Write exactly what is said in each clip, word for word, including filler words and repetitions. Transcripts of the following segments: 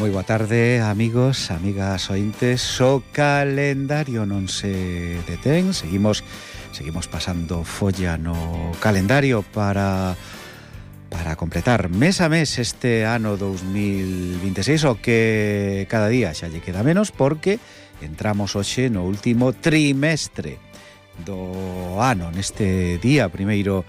Moi boa tarde, amigos, amigas ointes. O calendario non se detén. Seguimos seguimos pasando folla no calendario para para completar mes a mes este ano dos mil vinte e seis, o que cada día xa lle queda menos, porque entramos hoxe no último trimestre do ano, neste día primeiro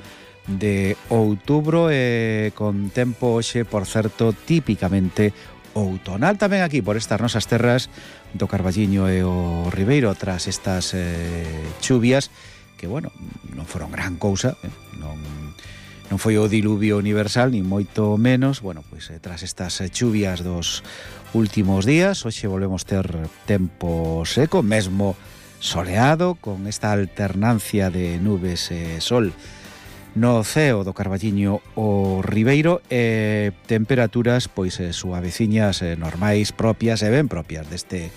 de outubro, e con tempo hoxe, por certo, típicamente outonal tamén aquí por estas nosas terras do Carballiño e o Ribeiro, tras estas eh, chuvias que, bueno, non foron gran cousa, eh, non, non foi o diluvio universal, ni moito menos. Bueno, pois eh, tras estas eh, chuvias dos últimos días, hoxe volvemos ter tempo seco, mesmo soleado, con esta alternancia de nubes e sol no ceo do Carballiño o Ribeiro, e temperaturas pois eh, suaveciñas, eh, normais, propias e ben propias deste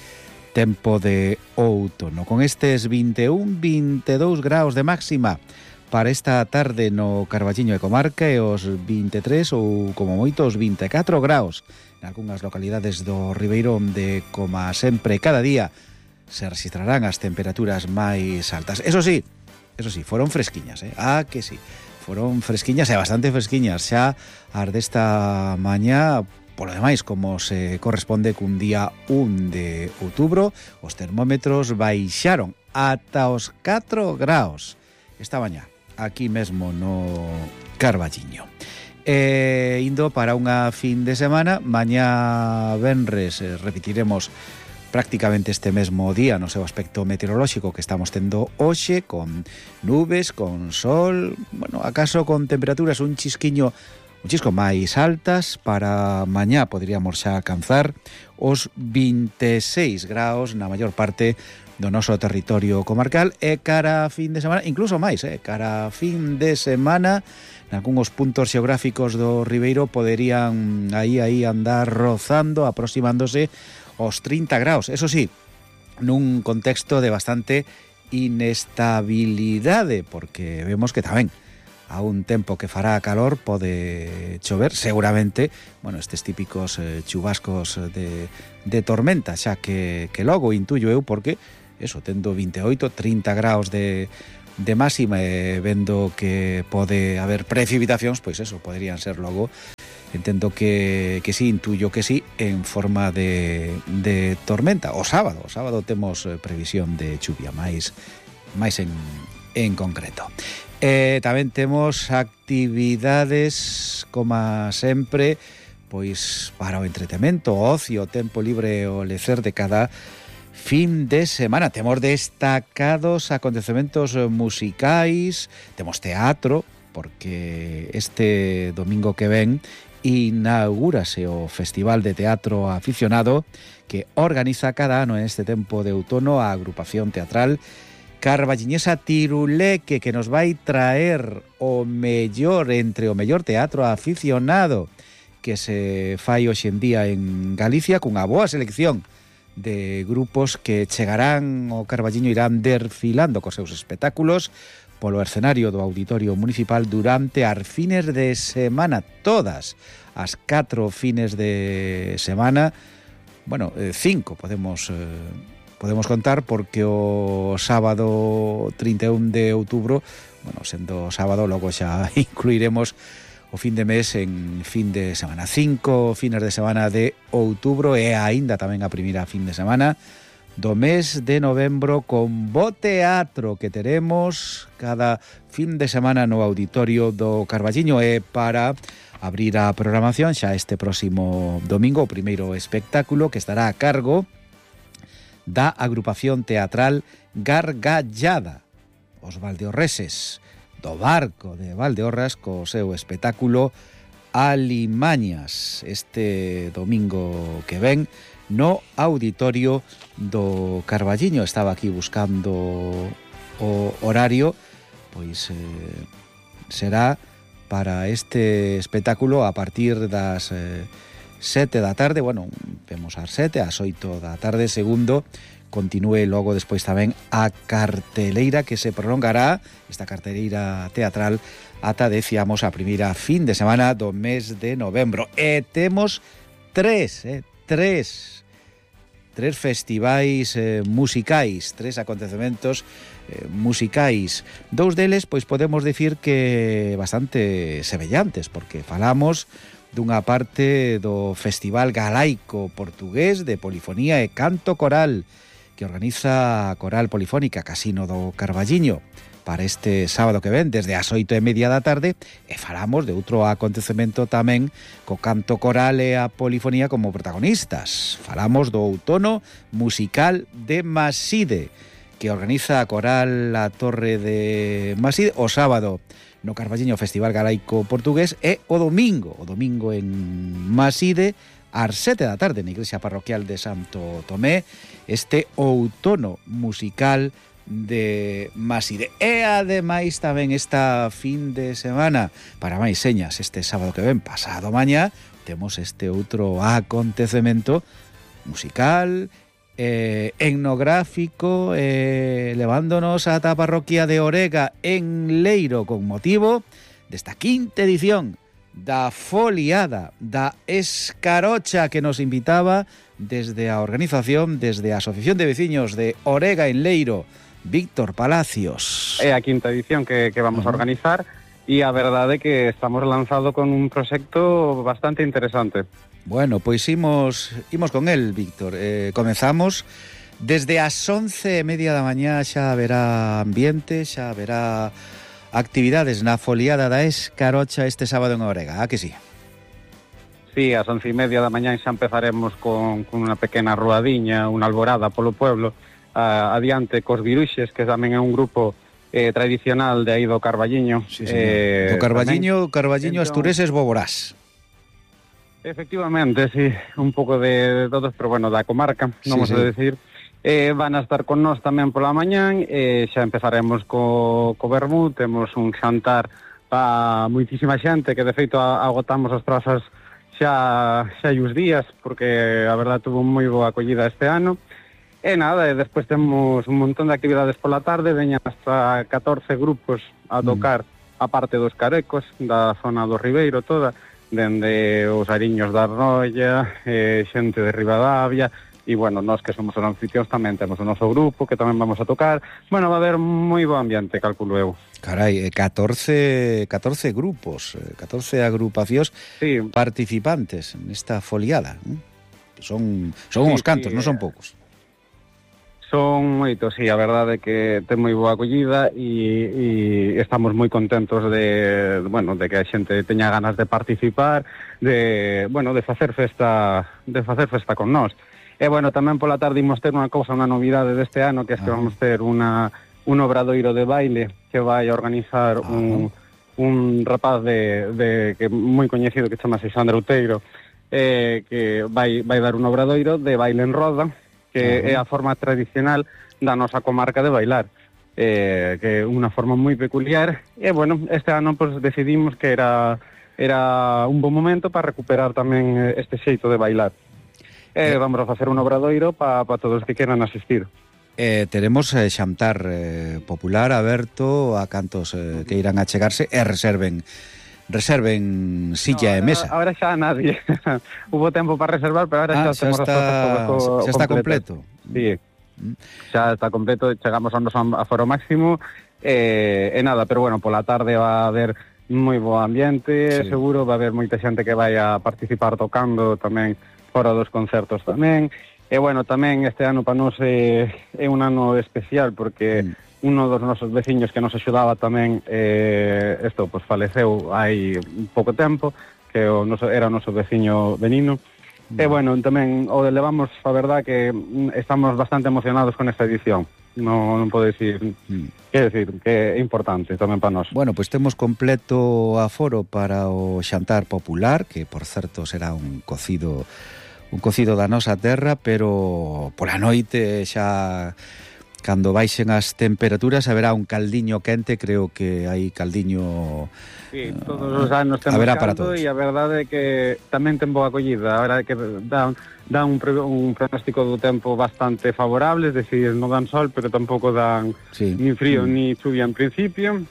tempo de outono, con estes vinte e un, vinte e dous graus de máxima para esta tarde no Carballiño e comarca, e os vinte e tres ou como moito os vinte e catro graus en algunhas localidades do Ribeiro, onde, como sempre, cada día se registrarán as temperaturas máis altas. Eso sí, eso sí, foron fresquiñas, eh? Ah, que sí. Foron fresquiñas e bastante fresquiñas xa as desta mañá. Polo demais, como se corresponde cun día un de outubro, os termómetros baixaron ata os catro graus esta mañá, aquí mesmo no Carballiño. E indo para unha fin de semana, mañá venres eh, repetiremos prácticamente este mesmo día no seu aspecto meteorolóxico que estamos tendo hoxe, con nubes, con sol, bueno, acaso con temperaturas un chisquiño, un chisco máis altas. Para mañá poderíamos xa alcanzar os vinte e seis graus na maior parte do noso territorio comarcal, e cara a fin de semana, incluso máis, eh, cara a fin de semana, nalgúns puntos xeográficos do Ribeiro poderían aí aí andar rozando, aproximándose os trinta graus, eso sí, nun contexto de bastante inestabilidade, porque vemos que tamén a un tempo que fará calor pode chover, seguramente, bueno, estes típicos eh, chubascos de, de tormenta, xa que, que logo intuyo eu, porque eso, tendo vinte e oito, trinta graus de, de máxima, e vendo que pode haber precipitacións, pois eso, poderían ser logo, entendo que, que sí, intuyo que sí, en forma de, de tormenta. O sábado, o sábado temos previsión de chuvia máis, máis en, en concreto. E tamén temos actividades, como sempre, pois para o entretemento, o ocio, o tempo libre, o lecer de cada fin de semana. Temos destacados acontecementos musicais, temos teatro, porque este domingo que ven inaugúrase o Festival de Teatro Aficionado, que organiza cada ano en este tempo de outono a agrupación teatral carballiñesa Tiruleque, que nos vai traer o mellor entre o mellor teatro aficionado que se fai hoxe en día en Galicia, cunha boa selección de grupos que chegarán ao Carballiño, irán desfilando cos seus espectáculos polo escenario do Auditorio Municipal durante as fines de semana, todas as catro fines de semana. Bueno, eh, cinco podemos eh, podemos contar, porque o sábado trinta e un de outubro, bueno, sendo sábado, logo xa incluiremos o fin de mes en fin de semana. Cinco fines de semana de outubro, e aínda tamén a primeira fin de semana do mes de novembro, con bo teatro que teremos cada fin de semana no Auditorio do Carballiño. E para abrir a programación xa este próximo domingo, o primeiro espectáculo, que estará a cargo da agrupación teatral Gargallada, os valdeorreses do Barco de Valdeorras, co seu espectáculo Alimañas, este domingo que ven no Auditorio do Carballiño. Estaba aquí buscando o horario, pois eh, será para este espectáculo a partir das eh, sete da tarde, bueno, vemos ás sete, ás oito da tarde, segundo continúe logo despois tamén a carteleira, que se prolongará, esta carteleira teatral, ata, decíamos, a primeira fin de semana do mes de novembro. E temos tres, eh, tres tres festivais eh, musicais, tres acontecementos eh, musicais. Dous deles, pois podemos dicir que bastante semellantes, porque falamos dunha parte do Festival Galaico Portugués de Polifonía e Canto Coral, que organiza a Coral Polifónica Casino do Carballiño para este sábado que ven, desde as oito e media da tarde, e falamos de outro acontecemento tamén co canto coral e a polifonía como protagonistas. Falamos do outono musical de Maside, que organiza a Coral La Torre de Maside o sábado no Carballiño Festival Galaico Portugués e o domingo, o domingo en Maside, ás sete da tarde na Igrexa Parroquial de Santo Tomé, este outono musical de Maside. E ademais tamén esta fin de semana, para máis señas, este sábado que ven, pasado mañá, temos este outro acontecemento musical, eh, etnográfico, eh, levándonos ata a parroquia de Orega en Leiro con motivo desta quinta edición da foliada da escarocha que nos invitaba desde a organización, desde a Asociación de Veciños de Orega en Leiro, Víctor Palacios. É a quinta edición que, que vamos uh-huh. a organizar e a verdade é que estamos lanzado con un proxecto bastante interesante. Bueno, pois imos, imos con el, Víctor. Eh, comezamos desde as once e media da mañá, xa haberá ambiente, xa haberá actividades na foliada da escarocha este sábado en Orega, ah que sí? Sí, ás once e media da mañá xa empezaremos con, con unha pequena ruadiña, unha alborada polo pueblo, Uh, adiante cos Viruxes, que tamén é un grupo eh, tradicional de aí do Carballiño. Sí, eh, do Carballiño, tamén, Carballiño entón, Astureses Boborás. Efectivamente, sí, un pouco de, de todos, pero bueno, da comarca, sí, vamos sí. a decir. Eh, van a estar con nós tamén pola mañán, eh, xa empezaremos co, co vermú, temos un xantar para moitísima xente, que de feito agotamos as trazas xa, xa hai uns días, porque a verdade tuvo moi boa acollida este ano. E nada, e despois temos un montón de actividades pola tarde, veñan hasta catorce grupos a tocar mm. a parte dos carecos, da zona do Ribeiro toda, dende os Ariños da Arroia, eh, xente de Ribadavia, e bueno, nós que somos os anfitrións tamén temos o noso grupo, que tamén vamos a tocar. Bueno, va a haber moi bo ambiente, calculo eu. Carai, catorce, catorce grupos, catorce agrupacións sí. participantes nesta foliada. Son, son sí, uns cantos, sí, non son poucos. Son moitos, sí, a verdade é que ten moi boa acollida e, e estamos moi contentos de, bueno, de que a xente teña ganas de participar, de, bueno, de facer festa, de facer festa con nós. E bueno, tamén pola tarde imos ter unha cousa, unha novidade deste ano, que é que ah. vamos ter unha un obradoiro de baile que vai a organizar ah. un un rapaz de, de que moi coñecido que chama Xandro Outeiro, eh, que vai vai dar un obradoiro de baile en roda, que uh-huh. é a forma tradicional da nosa comarca de bailar, eh, que é unha forma moi peculiar, e bueno, este ano pues, decidimos que era era un bom momento para recuperar tamén este xeito de bailar. E eh, vamos a facer un obradoiro para pa todos que queran asistir. Eh, teremos eh, xantar eh, popular aberto a cantos eh, que irán a chegarse e reserven reserven silla no, e mesa. Ahora xa nadie. Hubo tempo para reservar, pero ahora ah, xa, xa está, co, xa está completo. Sí, mm. xa está completo, chegamos ao noso aforo máximo, e, e nada, pero bueno, pola tarde va a haber moi bo ambiente, sí. seguro, va a haber moita xente que vai a participar tocando tamén fora dos concertos tamén, e bueno, tamén este ano para nós é, é un ano especial, porque mm. uno dos nosos veciños que nos axudaba tamén, eh, isto, pues faleceu hai pouco tempo, que o noso, era o noso veciño Benino. Mm. E bueno, tamén o levamos, a verdad, que estamos bastante emocionados con esta edición. Non, non podo dicir, mm. que decir, que é importante tamén para nós. Bueno, pois pues temos completo aforo para o xantar popular, que por certo será un cocido un cocido da nosa terra, pero pola noite xa cando baixen as temperaturas haberá un caldiño quente, creo que hai caldiño. Sí, todos os anos temos caldo e a verdade é que tamén ten boa acollida. A verdade é que dá, dá un, un pronóstico do tempo bastante favorable, es decir, non dan sol, pero tampouco dan sí. ni frío mm. ni chuvia en principio.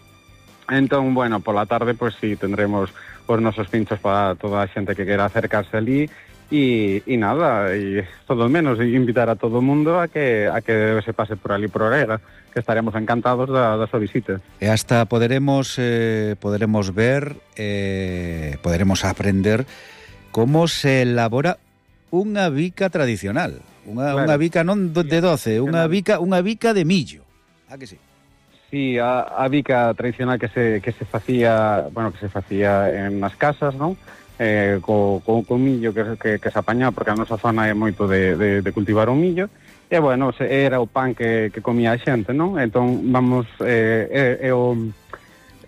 Entón, bueno, pola tarde, pois pues, sí, tendremos os nosos pinchos para toda a xente que quera acercarse ali. y, y nada, y todo menos invitar a todo o mundo a que a que se pase por ali por Orega, que estaremos encantados da, da súa visita. E hasta poderemos eh, poderemos ver, eh, poderemos aprender como se elabora unha bica tradicional, unha, claro. unha bica non de doce, unha bica, unha bica de millo. Ah, que sí? Sí, a, a bica tradicional que se que se facía, bueno, que se facía en nas casas, non? Eh, co, co, co millo que, que, que se apañaba, porque a nosa zona é moito de, de, de cultivar o millo, e, bueno, se, era o pan que, que comía a xente, non? Entón, vamos, eh, é, é o...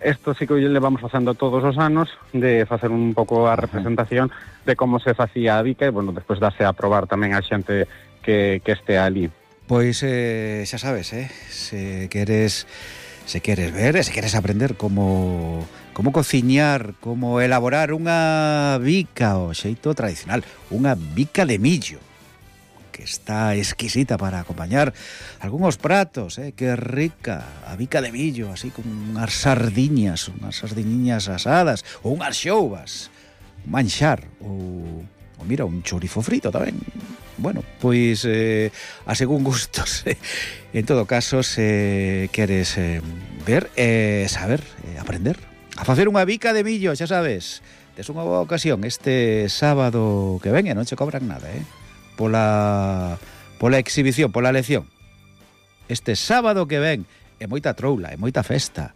Esto sí que le vamos facendo todos os anos, de facer un pouco a representación de como se facía a bica, e, bueno, despois darse a probar tamén a xente que, que este ali. Pois eh, xa sabes, eh? Se queres... Se queres ver, se queres aprender como como cociñar, como elaborar unha bica o xeito tradicional, unha bica de millo, que está exquisita para acompañar algúns pratos, eh, que rica, a bica de millo, así con unhas sardiñas, unhas sardiñiñas asadas, ou unhas xouvas, un manxar, ou, ou mira, un chourizo frito tamén. Bueno, pois eh, a según gustos. En todo caso, se queres eh, ver, eh, saber, eh, aprender a facer unha bica de millo, xa sabes, tes unha boa ocasión este sábado que ven e non che cobran nada, eh? Pola, pola exhibición, pola lección. Este sábado que ven é moita troula, é moita festa,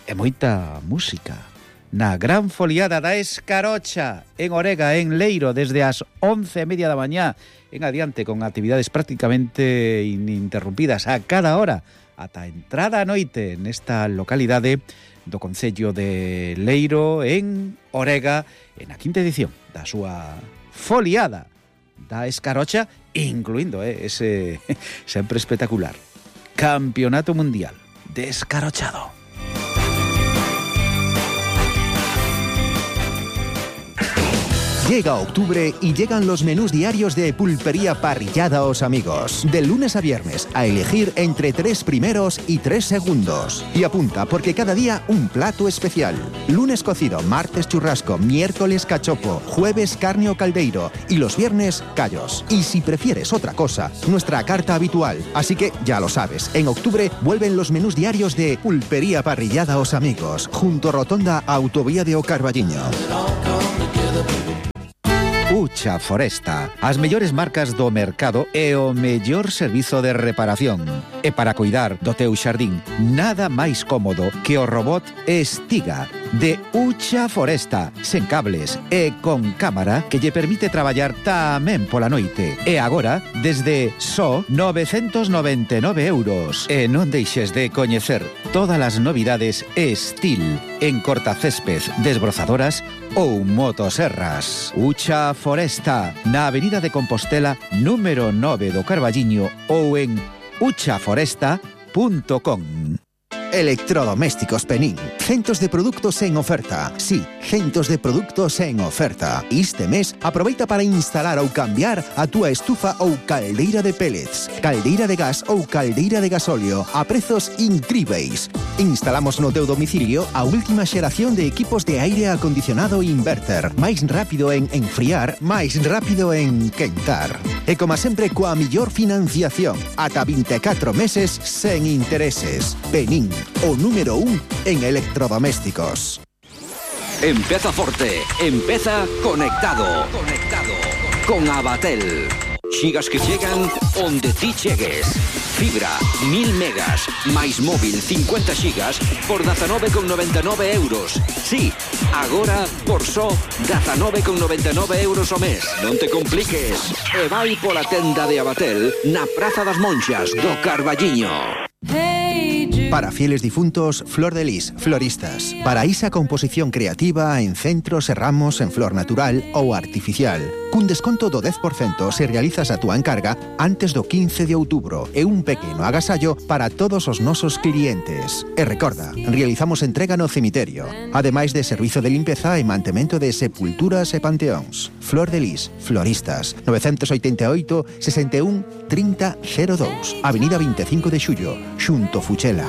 é moita música. Na gran foliada da Escarocha en Orega, en Leiro, desde as once e media da mañá en adiante, con actividades prácticamente ininterrumpidas a cada hora ata a entrada a noite nesta localidade do concello de Leiro, en Orega, en a quinta edición da súa foliada da Escarocha, incluindo eh, ese sempre espectacular Campeonato Mundial de Escarochado. Llega octubre y llegan los menús diarios de Pulpería Parrillada Os Amigos. De lunes a viernes, a elegir entre tres primeros y tres segundos. Y apunta, porque cada día un plato especial. Lunes cocido, martes churrasco, miércoles cachopo, jueves carne o caldeiro y los viernes callos. Y si prefieres otra cosa, nuestra carta habitual. Así que ya lo sabes, en octubre vuelven los menús diarios de Pulpería Parrillada Os Amigos, junto a Rotonda Autovía de O Carballiño. Ucha Foresta, as mellores marcas do mercado e o mellor servizo de reparación. E para cuidar do teu xardín, nada máis cómodo que o robot Estiga de Ucha Foresta, sen cables e con cámara que lle permite traballar tamén pola noite. E agora, desde só novecentos noventa e nove euros. E non deixes de coñecer todas as novidades Estil en cortacésped, desbrozadoras ou motoserras. Ucha Foresta, na Avenida de Compostela, número nove do Carballiño, ou en ucha foresta punto com. Electrodomésticos Penín. Centos de productos en oferta. Sí, centos de productos en oferta. Este mes, aproveita para instalar ou cambiar a túa estufa ou caldeira de pellets, caldeira de gas ou caldeira de gasóleo a prezos incríveis. Instalamos no teu domicilio a última xeración de equipos de aire acondicionado inverter. Máis rápido en enfriar, máis rápido en quentar. E como sempre, coa millor financiación, ata vinte e catro meses sen intereses. Penín, o número un en electrodomésticos. Empeza forte, empeza conectado. Conectado con Abatel. Xigas que chegan onde ti chegues. Fibra, mil megas, máis móvil, cincuenta xigas, por dezanove con noventa e nove euros. Sí, agora, por só, dezanove con noventa e nove euros o mes. Non te compliques. E vai pola tenda de Abatel na Praza das Monxas do Carballiño. Para fieles difuntos, Flor de Lis, floristas. Para esa composición creativa en centros e ramos en flor natural ou artificial. Cun desconto do dez por cento se realizas a túa encarga antes do quince de outubro e un pequeno agasallo para todos os nosos clientes. E recorda, realizamos entrega no cemiterio, ademais de servizo de limpeza e mantemento de sepulturas e panteóns. Flor de Lis, floristas, novecentos oitenta e oito, sesenta e un, trinta, cero dous, Avenida vinte e cinco de Xullo, xunto Fuchela.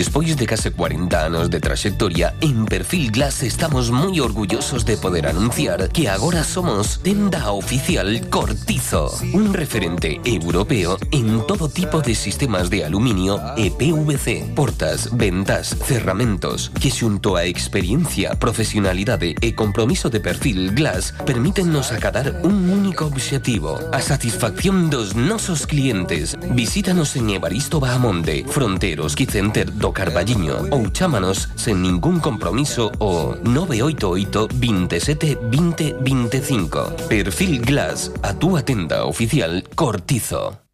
Despois de case cuarenta anos de traxectoria, en Perfil Glass estamos moi orgullosos de poder anunciar que agora somos tenda oficial Cortizo, un referente europeo en todo tipo de sistemas de aluminio e P V C, portas, ventas, cerramentos, que xunto a experiencia, profesionalidade e compromiso de Perfil Glass permítennos acadar un único obxectivo, a satisfacción dos nosos clientes. Visítanos en Evaristo Bahamonde, Fronteros Quicenter do Carballiño ou chámanos sen ningún compromiso o nove oito oito, veintisiete, veinte, veinticinco. Perfil Glass, a túa tenda oficial Cortizo.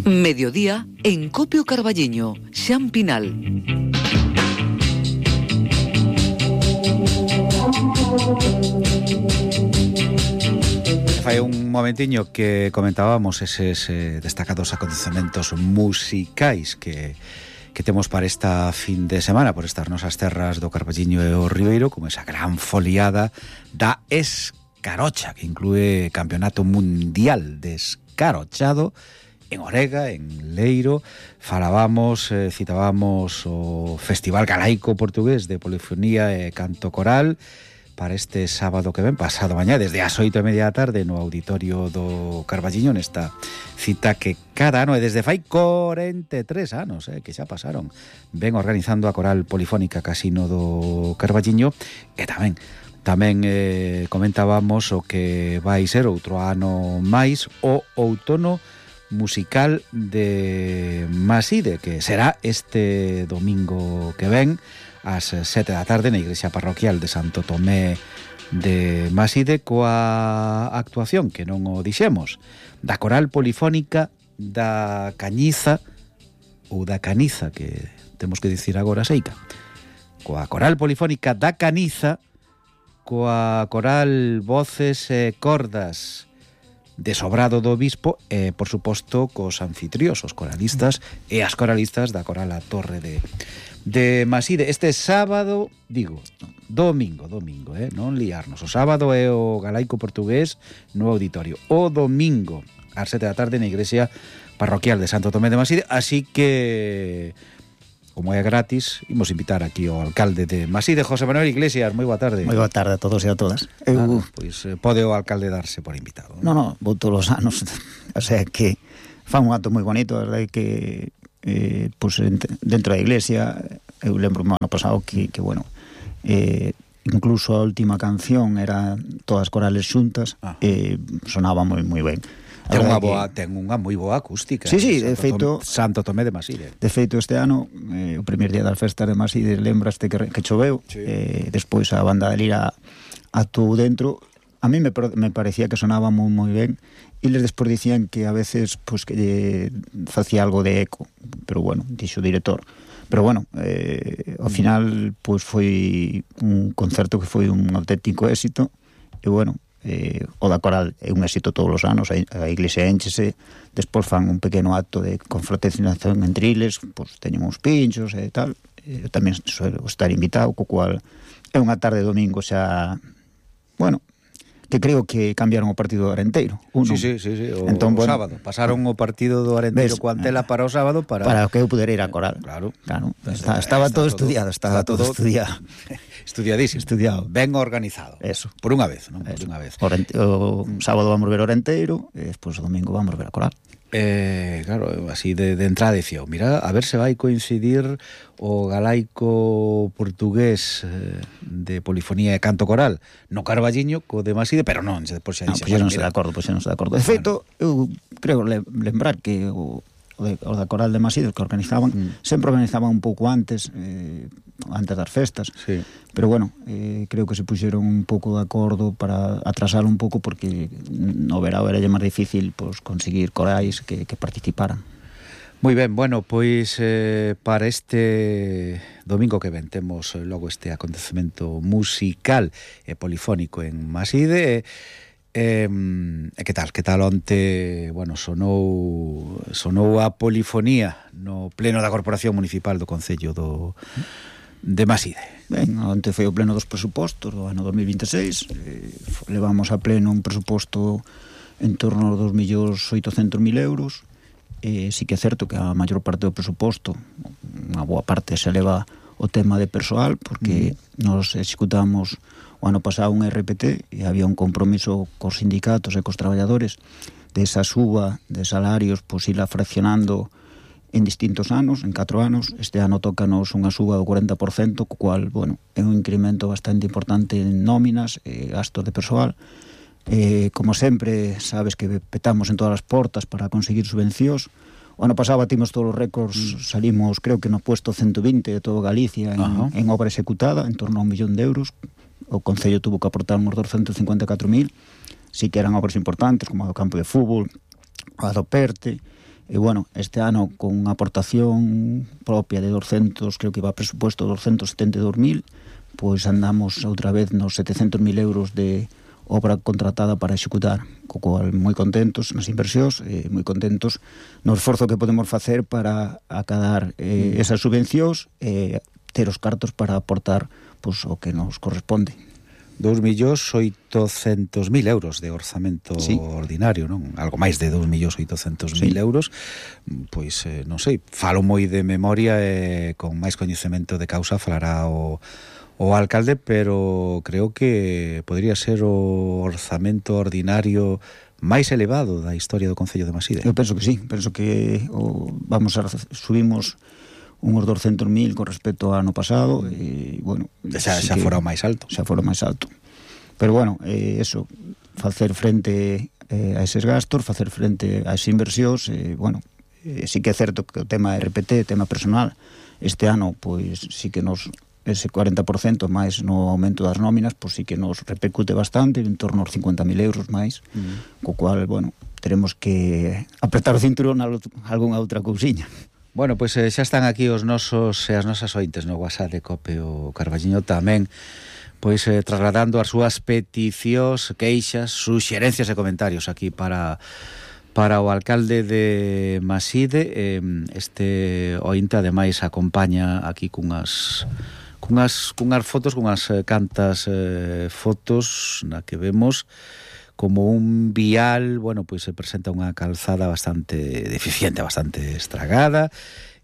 Mediodía en Copio Carballiño, Xan Pinal. Fai un momentiño que comentábamos eses eh, destacados acontecementos musicais que, que temos para esta fin de semana por estas nosas terras do Carballiño e o Ribeiro, como esa gran foliada da Escarocha, que inclúe Campeonato Mundial de Escarochado en Orega, en Leiro. Falábamos, eh, citábamos o Festival Galaico Portugués de Polifonía e Canto Coral para este sábado que ven, pasado mañá, desde as oito e media da tarde no auditorio do Carballiño, nesta cita que cada ano, e desde fai corenta e tres anos, eh, que xa pasaron, ven organizando a Coral Polifónica Casino do Carballiño. E tamén tamén eh, comentábamos o que vai ser outro ano máis, o outono musical de Maside, que será este domingo que ven ás sete da tarde na igrexa parroquial de Santo Tomé de Maside, coa actuación, que non o dixemos, da Coral Polifónica da Cañiza, ou da Caniza, que temos que dicir agora seica, coa Coral Polifónica da Caniza, coa Coral Voces e Cordas de Sobrado do Obispo e, por suposto, cos anfitriós, os coralistas e as coralistas da Coral A Torre de de Maside. Este sábado, digo, domingo, domingo, eh, non liarnos. O sábado é o Galaico Portugués no auditorio. O domingo, ás sete da tarde, na igrexa parroquial de Santo Tomé de Maside. Así que, como é gratis, imos invitar aquí ao alcalde de Maside, José Manuel Iglesias. Moi boa tarde. Moi boa tarde a todos e a todas. Eu... Ah, pois eh, pode o alcalde darse por invitado. Non, non, vou todos os anos. O sea que fa un acto moi bonito, a verdade que eh, pues, dentro da iglesia, eu lembro o ano pasado que, que bueno, eh, incluso a última canción era todas corales xuntas, ah. e eh, sonaba moi moi ben. Ten unha, boa, que... ten unha moi boa acústica. Sí, sí, Santo de feito Tom, Santo Tomé de Maside. De feito, este ano, eh, o primer día das festas de Maside, lembraste que, que choveu, sí. eh, despois a banda de Lira actuou dentro. A mí me, me parecía que sonaba moi moi ben, e les despois dicían que a veces pues, que lle facía algo de eco, pero bueno, dixo o director. Pero bueno, eh, ao final pues, foi un concerto que foi un auténtico éxito, e bueno, eh, o da Coral é un éxito todos os anos, a, a iglesia enchese, despois fan un pequeno acto de confraternización entre iles, pues, teñen uns pinchos e tal, eu tamén suelo estar invitado, co cual é unha tarde de domingo xa, bueno, que creo que cambiaron o partido do Arenteiro. Uno. Sí, sí, sí, sí. O, entón, o bueno, sábado. Pasaron o partido do Arenteiro coa Antela para o sábado para... Para que eu pudera ir a Coral. Claro. Claro. Está, estaba está todo, todo estudiado, estaba está todo, todo estudiado. Estudiadísimo. Estudiado. Ben organizado. Eso. Por unha vez, non? Por unha vez. O, rente, o sábado vamos ver o Arenteiro e despois o domingo vamos ver a Coral. Eh, claro, así de, de entrada dicía, mira, a ver se vai coincidir o galaico portugués eh, de polifonía e canto coral no Carballiño co de Maside, pero non, depois xa no, dixen, pues non se de acordo, pois pues non se de acordo. De feito, eu creo le, lembrar que o, o, de, o da Coral de Maside que organizaban, mm. sempre organizaban un pouco antes, eh, antes das festas. Sí. Pero bueno, eh, creo que se puxeron un pouco de acordo para atrasar un pouco porque no verao era máis difícil pues, conseguir corais que, que participaran. Moi ben, bueno, pois eh, para este domingo que ven temos logo este acontecemento musical e polifónico en Maside. E eh, que tal? Que tal onte, bueno, sonou sonou a polifonía no pleno da Corporación Municipal do Concello do de Maside. Ben, onte foi o pleno dos presupostos do ano dos mil vinte e seis, eh, levamos a pleno un presuposto en torno aos dos millóns oitocentos mil euros eh, sí que é certo que a maior parte do presuposto, unha boa parte se leva o tema de persoal, porque mm. nos executamos o ano pasado un R P T e había un compromiso cos sindicatos e cos traballadores de esa suba de salarios, pois ila fraccionando en distintos anos, en catro anos. Este ano tócanos unha suba do cuarenta por cento, co cual, bueno, é un incremento bastante importante en nóminas e gastos de persoal. Eh, como sempre, sabes que petamos en todas as portas para conseguir subvencións. O ano pasado batimos todos os récords, mm. salimos, creo que no puesto ciento vinte de todo Galicia en, en obra executada, en torno a un millón de euros. O Concello tuvo que aportar uns doscientos cincuenta e catro mil. Sí que eran obras importantes, como o campo de fútbol, a do Perte. E, bueno, este ano, con unha aportación propia de doscientos, creo que iba a presupuesto doscientos setenta e dos mil, pois andamos outra vez nos setecentos mil euros de obra contratada para executar, co cual moi contentos nas inversións, eh, moi contentos no esforzo que podemos facer para acadar eh, esas subvencións e eh, ter os cartos para aportar pois, o que nos corresponde. Dous millóns oitocentos mil euros de orzamento sí. ordinario, non? Algo máis de dous millóns oitocentos mil sí. euros. Pois, eh, non sei, falo moi de memoria e eh, con máis coñecemento de causa falará o o alcalde, pero creo que podría ser o orzamento ordinario máis elevado da historia do Concello de Maside. Eu penso que sí, penso que o, vamos a subimos uns doscientos mil con respecto ao ano pasado e, bueno, xa, sí xa fora o máis alto. Xa fora o máis alto. Pero, bueno, eh, eso, facer frente eh, a eses gastos, facer frente a esas inversións, eh, bueno, eh, sí que é certo que o tema R P T, tema personal, este ano, pois, sí que nos ese cuarenta por cento máis no aumento das nóminas, pois sí que nos repercute bastante, en torno aos cincuenta mil euros máis, mm. co cual, bueno, teremos que apretar o cinturón a algunha outra cousiña. Bueno, pois eh, xa están aquí os nosos e as nosas ointes no WhatsApp de Cope o Carballiño tamén, pois eh, trasladando as súas peticións, queixas, suxerencias e comentarios aquí para para o alcalde de Maside. Eh, este ointe ademais acompaña aquí cunhas cunhas, cunhas fotos, cunhas cantas eh, fotos na que vemos como un vial, bueno, pois se presenta unha calzada bastante deficiente, bastante estragada.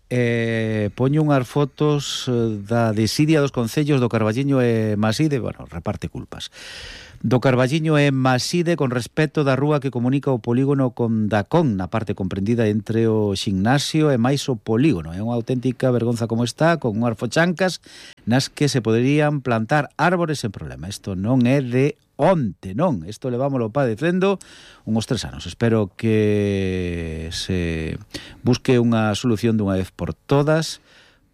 Eh, poño unhas fotos da desidia dos concellos do Carballiño e Maside, bueno, reparte culpas. Do Carballiño e Maside con respecto da rúa que comunica o polígono con Dacón, na parte comprendida entre o ximnasio e máis o polígono. É unha auténtica vergonza como está, con unhas fochancas nas que se poderían plantar árbores sen problema. Isto non é de onte, non. Isto levámoslo padecendo uns tres anos. Espero que se busque unha solución dunha vez por todas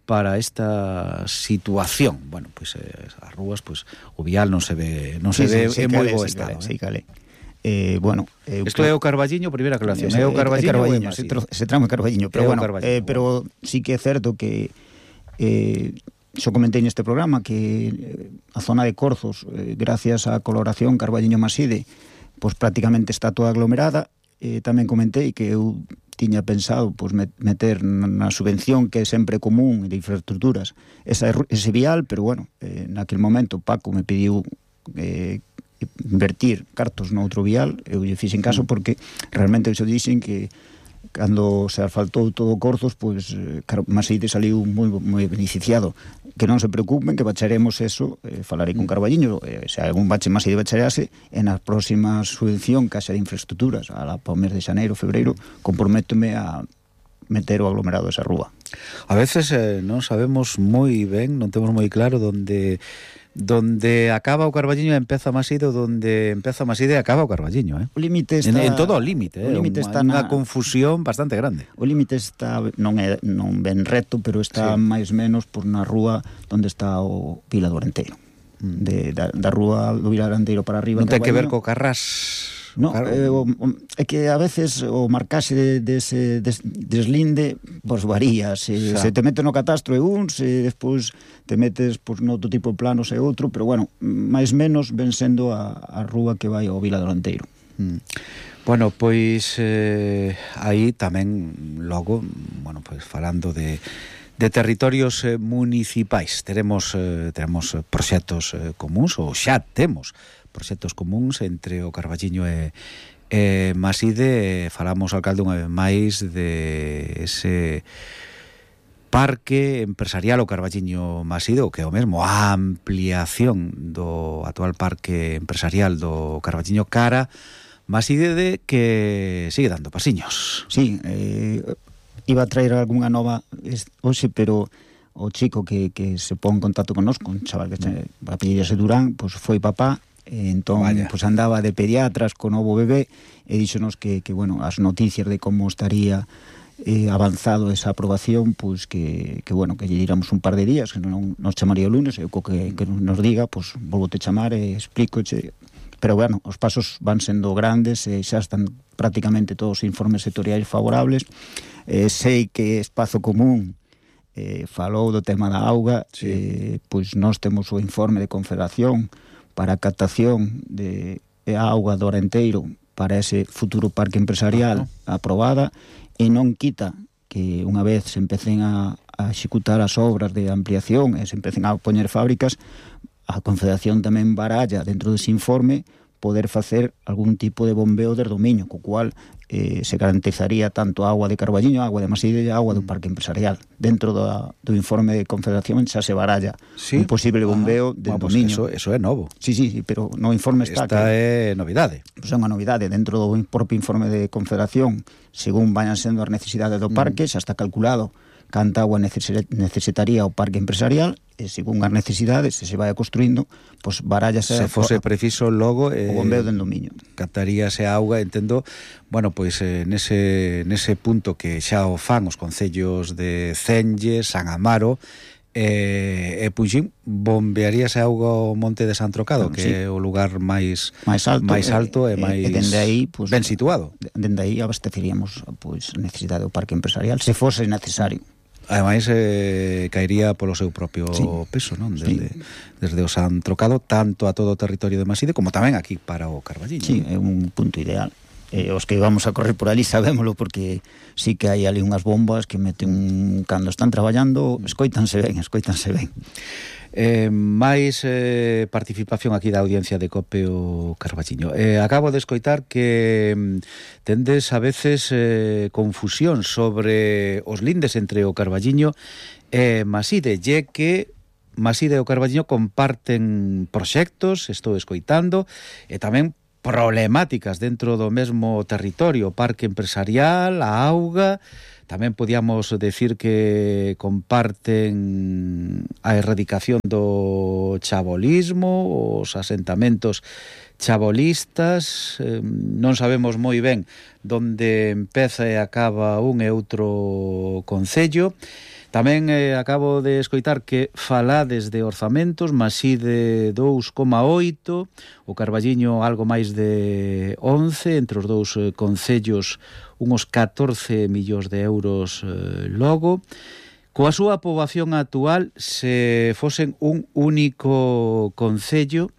para esta situación. Bueno, pois pues, eh, as rúas, pois pues, o vial non se ve, non se sí, ve sí, en moi bo sí, estado. Sí, cale. Eh, bueno, eh, isto é o Carballiño, primeira aclaración. É o Carballiño, Carballiño ese, ese tramo é Carballiño, pero bueno, eh, pero sí que é certo que eh, xo comentei neste programa que eh, a zona de Corzos, eh, gracias á colaboración Carballiño-Maside, pois pues, prácticamente está toda aglomerada. Eh, tamén comentei que eu tiña pensado pues, meter na subvención que é sempre común de infraestructuras esa, ese vial, pero bueno, eh, naquel momento Paco me pediu eh, invertir cartos no outro vial, eu lle fixen caso porque realmente xo dixen que cando se asfaltou todo Corzos, pois pues, Maside saliu moi, moi beneficiado. Que non se preocupen, que bacharemos eso, eh, falarei con Carballiño, eh, se algún bache Maside bacharease, en a próxima subvención que haxa de infraestructuras, a la para o mes de xaneiro, febreiro, comprométome a meter o aglomerado esa rúa. A veces eh, non sabemos moi ben, non temos moi claro donde donde acaba o Carballiño e empeza Maside, donde empeza Maside e acaba o Carballiño, eh? O límite está... En, en todo o límite, eh? O límite unha, está unha na... confusión bastante grande. O límite está, non é non ben reto, pero está sí. máis menos por na rúa onde está o Vila do Arenteiro. Mm. De, da, da rúa do Vila do Arenteiro para arriba. Non ten que ver co Carrás... No, claro. eh, o, o, é que a veces o marcaxe de, de ese des, deslinde pois varía, se, se te metes no catastro é un, se despois te metes pois, no outro tipo de planos é outro, pero bueno, máis menos ven sendo a, a rúa que vai ao Vila do Arenteiro. Mm. Bueno, pois eh, aí tamén logo, bueno, pois falando de de territorios eh, municipais, teremos eh, teremos proxectos eh, comuns ou xa temos proxectos comuns entre o Carballiño e, Eh, Maside, falamos, alcalde, unha vez máis de ese parque empresarial o Carballiño Maside, o que é o mesmo, a ampliación do actual parque empresarial do Carballiño cara Maside, de que sigue dando pasiños. Sí, eh, iba a traer algunha nova hoxe, pero o chico que, que se pon en contacto connosco, un chaval que se apellidase Durán, pues foi papá. Entón, Vaya. pues andaba de pediatras con novo bebé e díxonos que, que bueno, as noticias de como estaría eh, avanzado esa aprobación, pues que, que bueno, que lle diramos un par de días, que non nos chamaría o lunes, e o que, que nos diga, pues volvote chamar e explícoche. Pero bueno, os pasos van sendo grandes e xa están prácticamente todos os informes sectoriais favorables. Eh, sei que Espazo Común eh, falou do tema da auga, sí. eh, pois nós temos o informe de Confederación para a captación de auga do Arenteiro para ese futuro parque empresarial uh-huh. aprobada, e non quita que unha vez se empecen a, a executar as obras de ampliación e se empecen a poñer fábricas, a Confederación tamén baralla dentro dese informe poder facer algún tipo de bombeo de dominio, co cual eh, se garantizaría tanto a agua de Carballiño, a agua de Maside e a agua do parque empresarial. Dentro do, do informe de Confederación xa se baralla ¿Sí? un posible bombeo de bueno, dominio. Pues eso, eso é novo. Sí, sí, sí, pero no informe está... Esta que, é novidade. Pues é unha novidade. Dentro do propio informe de Confederación, según vayan sendo as necesidades do parque, xa está calculado canta agua necesitaría o parque empresarial, e según as necesidades, se se vai construindo, pois barállase... Se fose preciso logo... Eh, o bombeo del dominio. Captaríase a auga, entendo, bueno, pois eh, nese, nese punto que xa o fan os concellos de Cenge, San Amaro, e, e Puxín, bombearíase a auga ao Monte de San Trocado, bueno, que sí. é o lugar máis máis alto, máis alto e, e máis e dende aí, pues, ben situado. Dende aí abasteceríamos pois, a necesidade do parque empresarial, se fose necesario. Ademais, eh, caería polo seu propio sí. peso, non? Desde, sí. desde o San Trocado, tanto a todo o territorio de Maside, como tamén aquí para o Carballiño. Sí, é un punto ideal. Eh, os que vamos a correr por ali sabémolo, porque sí que hai ali unhas bombas que meten, cando están traballando, escoítanse ben, escoítanse ben. Eh, máis eh, participación aquí da audiencia de Cope o Carballiño. Eh, acabo de escoitar que mm, tendes a veces eh, confusión sobre os lindes entre o Carballiño e Maside, lle que Maside e o Carballiño comparten proxectos, estou escoitando, e tamén problemáticas dentro do mesmo territorio, o parque empresarial, a auga. Tamén podíamos decir que comparten a erradicación do chabolismo, os asentamentos chabolistas. Eh, non sabemos moi ben onde empeza e acaba un e outro concello. Tamén eh, acabo de escoitar que falades de orzamentos, Maside dous coma oito, o Carballiño algo máis de once, entre os dous eh, concellos unhos catorce millóns de euros eh, logo. Coa súa poboación actual, se fosen un único concello,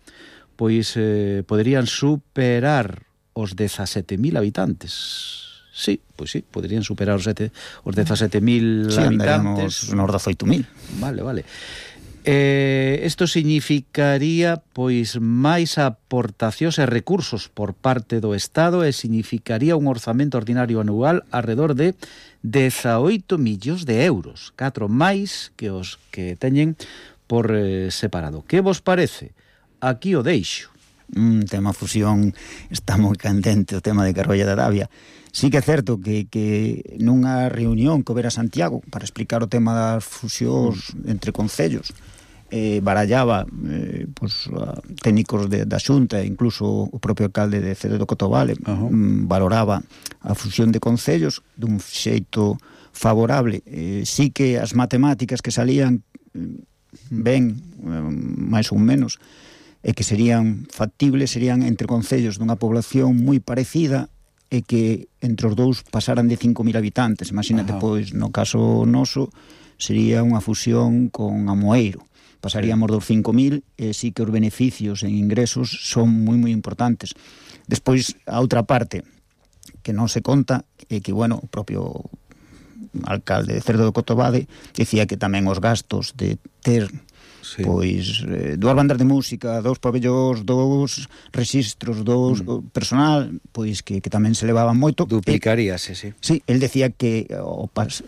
pois eh, poderían superar os dezasete mil habitantes. Sí, pois sí, poderían superar os, sete, os dezasete mil sí, habitantes. Sí, nos dezoito mil. Vale, vale. Eh, isto significaría pois máis aportacións e recursos por parte do Estado, e significaría un orzamento ordinario anual alrededor de dezaoito millóns de euros, catro máis que os que teñen por eh, separado. Que vos parece? Aquí o deixo. Un tema fusión está moi candente, o tema de Carballo de Arabia. Sí que é certo que, que nunha reunión que houbera Santiago para explicar o tema das fusións entre concellos, eh, barallaba eh, pues, técnicos de, da Xunta, incluso o propio alcalde de Cede do Cotovale, uh-huh. mm, valoraba a fusión de concellos dun xeito favorable. Eh, sí que as matemáticas que salían ben, eh, máis ou menos, e que serían factibles, serían entre concellos dunha población moi parecida, e que entre os dous pasaran de cinco mil habitantes. Imagínate, Ajá. pois, no caso noso, sería unha fusión con Amoeiro. Pasaríamos sí. dos cinco mil, e sí que os beneficios en ingresos son moi, moi importantes. Despois, a outra parte, que non se conta, é que, bueno, o propio alcalde de Cerdo do Cotovade dicía que tamén os gastos de ter sí. Pois eh, dúas bandas de música, dous pabellóns, dous registros, dous mm. personal, pois que, que tamén se levaban moito. Duplicaríase, sí. Sí, el decía que o pas,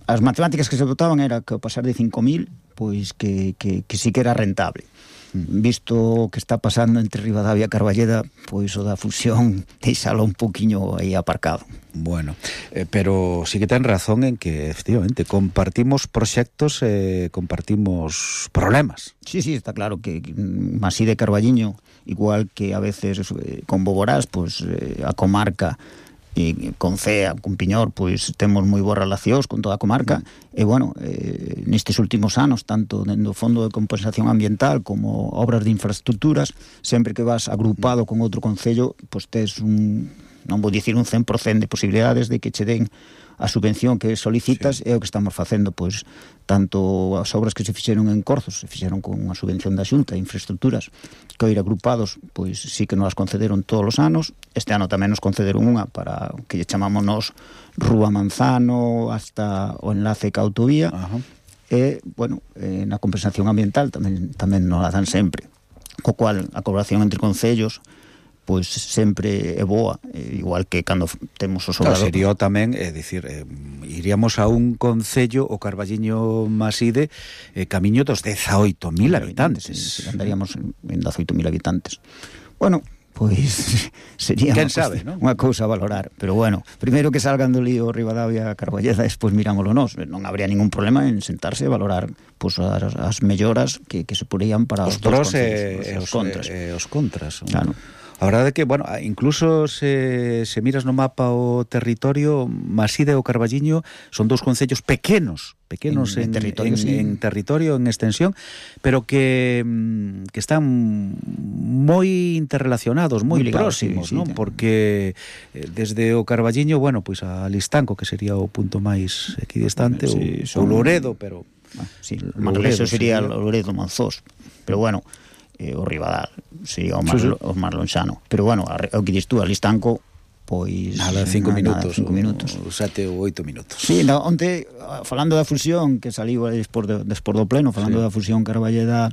as matemáticas que se botaban era que ao pasar de cinco mil, pois que, que, que sí que era rentable. Visto o que está pasando entre Ribadavia e Carballeda, pois o da fusión deixalo un poquinho aí aparcado. Bueno, eh, pero sí que ten razón en que efectivamente compartimos proxectos e eh, compartimos problemas. Sí, sí, está claro que Maside e Carballiño, igual que a veces eh, con Boborás, pois eh, a comarca e con Cea, con Piñor, pois temos moi boas relacións con toda a comarca, mm. e bueno, eh, nestes últimos anos, tanto dentro do Fondo de Compensación Ambiental como obras de infraestructuras, sempre que vas agrupado con outro concello, pois tes un, non vou dicir un cen por cento de posibilidades de que che den a subvención que solicitas, sí. É o que estamos facendo, pois, tanto as obras que se fixeron en Corzos, se fixeron con unha subvención da Xunta, infraestructuras, que ir agrupados, pois sí que nos as concederon todos os anos. Este ano tamén nos concederon unha para que lle chamamos nos Rúa Manzano hasta o enlace ca autovía. Ajá. E, bueno, eh, na compensación ambiental tamén, tamén nos a dan sempre, co cual a colaboración entre concellos pois sempre é boa, igual que cando temos os obradores. Claro, sería tamén, é dicir, eh, iríamos a un concello, o Carballiño Maside, eh, camiño dos dezaoito mil habitantes. Sí, andaríamos en dezaoito mil habitantes. Bueno, pois sería Quen sabe, ¿no? Unha cousa a valorar, pero bueno, primeiro que salgan do lío Ribadavia Carballeda, despois mirámoslo nós, non habría ningún problema en sentarse e valorar pois as, as melloras que, que se porían para os, os pros e os, os contras. E os contras. Claro. A verdade é que, bueno, incluso se, se miras no mapa o territorio, Maside e o Carballiño son dous concellos pequenos, pequenos en, en, territorio, en, sí. en territorio, en extensión, pero que, que están moi interrelacionados, moi próximos, sí, sí, ¿no? Sí, porque desde o Carballiño, bueno, pois a Listanco, que sería o punto máis equidistante, sí, o, son... o Loredo, pero... Ah, sí, Loredo, eso sería o Loredo Monzós, pero bueno... Eh, o Ribadal sería o máis, sí, sí. o máis lonxano, pero bueno, o que dis tú, a Listanco, pois nada, cinco nada, minutos, cinco minutos, ou sete ou oito minutos. Sí, no, onte, falando da fusión que saliu despois do, despois do pleno, falando sí. da fusión Carballeda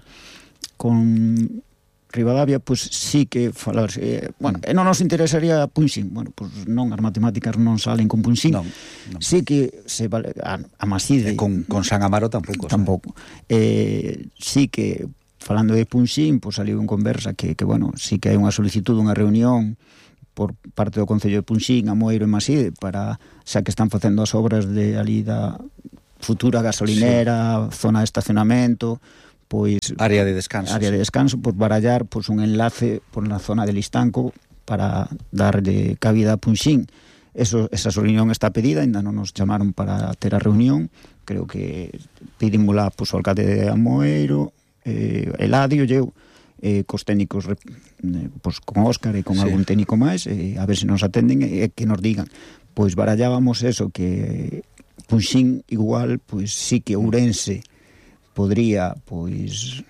con Ribadavia, pois sí que falar, eh, bueno, e non nos interesaría Punxín, bueno, pois non, as matemáticas non salen con Punxín, non, non. Sí que se vale, a, a Maside, e con, con San Amaro tampouco, tampouco, eh, sí que falando de Punxín, pois saliu en conversa que, que, bueno, sí que hai unha solicitud, unha reunión por parte do Concello de Punxín, Amoeiro e Maside, para, xa que están facendo as obras de ali da futura gasolinera, sí. zona de estacionamento, pois... Área de descanso. Área sí. de descanso, pois barallar pois, un enlace por na zona de Listanco para darlle cabida a Punxín. Eso, esa reunión está pedida, ainda non nos chamaron para ter a reunión, creo que pedímola pois, o alcalde de Amoeiro, eh, Eladio, eu, eh, cos técnicos eh, pois, con Óscar e con sí. algún técnico máis, eh, a ver se nos atenden e eh, que nos digan. Pois barallábamos eso, que Punxín igual, pois sí que Ourense podría, pois